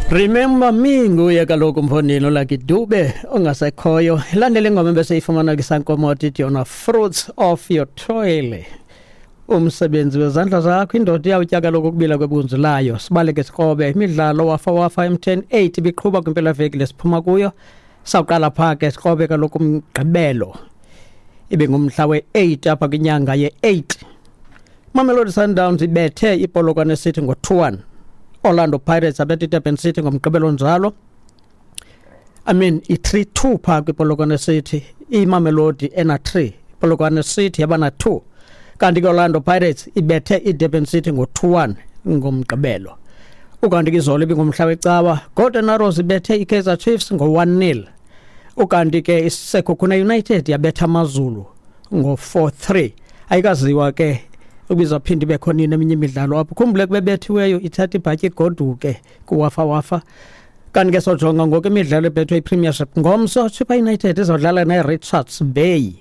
Remember me nguye kaloku mfondini uLucky Dube ongasekhoyo. Ilandele ingoma ebeseyifumana kwisankomoto ithi yona Fruits of Your Toil. Umsebenzi wezandla zakho, indoda iyawutya kaloku ukubila kwebunzi layo. Sibaleke sikrobe imidlalo wafa wafa M10 8 ibiqhuba kwimpelaveki lesiphuma kuyo. Sawuqala phaa ke sikrobe kaloku umgqibelo. Ibe ngumhla we-8 apha kwinyanga ye-8. Mamelodi Sundowns ibethe iPolokwane City ngo-2-1. Orlando Pirates abethe iDurban City ngomgqibelo njalo. I mean i-3-2 phaa kwiPolokwane City. IMamelodi ena-3, iPolokwane City yaba na-2. Kanti ke Orlando Pirates ibethe iDurban City ngo-2-1 ngomgqibelo. Ukanti ke izolo ibingumhla wecawa, Golden Arrows ibethe iKaizer Chiefs ngo-1-0. Ukanti ke iSekhukhune United yabetha AmaZulu ngo-4-3. Ayikaziwa ke ubizaphinda ibe khona nini eminye imidlalo apho. Khumbule kubebethiweyo ithatha ibhatyi igoduke kuwafa wafa. Kanti ke sojonga ngoku imidlalo ebethwe iPremiership. Ngomso Chippa United izodlala neRichards Bay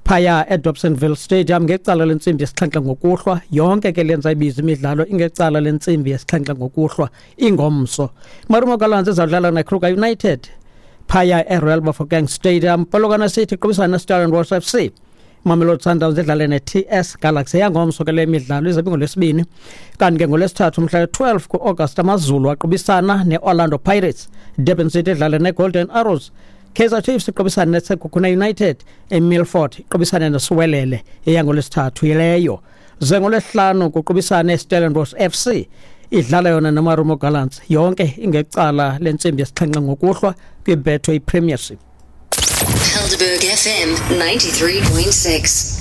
phaya eDobsonville Stadium ngecala lentsimbi yesixhenxe ngokuhlwa. Yonke ke lenza ibiza imidlalo ingecala lentsimbi yesixhenxe ngokuhlwa ingomso. Marumo Gallants izawudlala neKruger United phaya eRoyal Bafokeng Stadium. Polokwane City iqubisana neStellenbosch FC. Mamelodi Sundowns idlale ne-TS Galaxy. Yangomso ke le midlalo izabe ngolwesibini. Kanti ke ngolwesithathu umhla we-12 ku-August AmaZulu aqubisana ne-Orlando Pirates. Durban City idlale ne-Golden Arrows. Kaizer Chiefs iqubisana neSekhukhune United. eMilford iqubisane neSiwelele eyangolwesithathu yileyo. Ze ngolwesihlanu kuqubisane iStellenbosch FC idlala yona neMarumo Gallants. Yonke ingecala lentsimbi yesixhenxe ngokuhlwa kwiBetway Premiership. Helderberg FM 93.6.